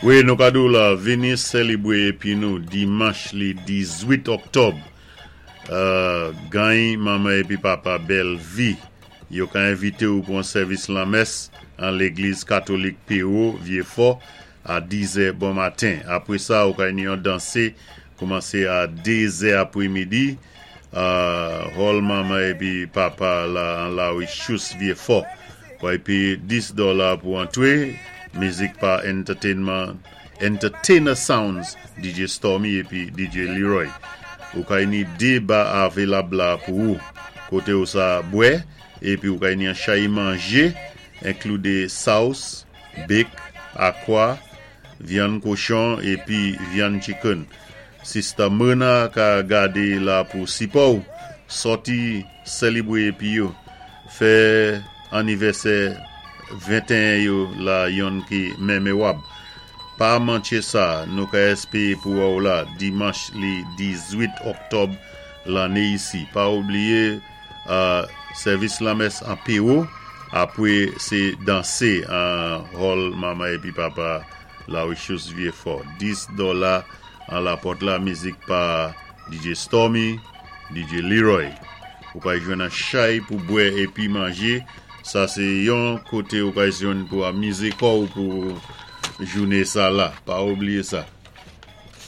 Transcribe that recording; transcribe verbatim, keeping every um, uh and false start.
Wi, nou ka di ou la, vini sélébwé épi nou dimanch li dizuit òktòb. Euh, gany manman épi papa bèl vi. Yo ka envité ou pou an sèvis lanmès an légliz katolik P O Vyéfò a dizè bon maten. Apwé sa, ou ka ni yon dansé koumansé a dézè apwémidi. Euh, hall manman épi papa la an la Chous Vyéfò. Pou épi dis dola pou antwé. Mizik pa Entertainment Entertainer Sounds, D J Stormy épi D J Leroy. Ou ka ni dé ba avelab la pou ou. Koté ou sa bwè, épi ou ka ni an chay manjé, enklu dé sòs, bake, akwa, vyann kochon, épi vyann chicken. Sista Mena ka gadé la pou sipò ou, sòti sélébwé épi yo, fè anivèsè venteyen yo la yon ki mémowab. Pa manké sa, nou ka èspéwé pou wè ou la, dimanch li dizuit òktòb lanné isi. Pa oubliyé euh, sèvis lanmès an P O, apwé sé dansé an hall manman épi papa la Chous Vyéfò. dis dola an la pòt la, mizik pa D J Stormy, D J Leroy. Ou ka jwenn an chay pou bwè épi manjé. Sa sé yon koté ou ka jwenn pou amizé kò ou pou jouné sa la. Pa oubliyé sa.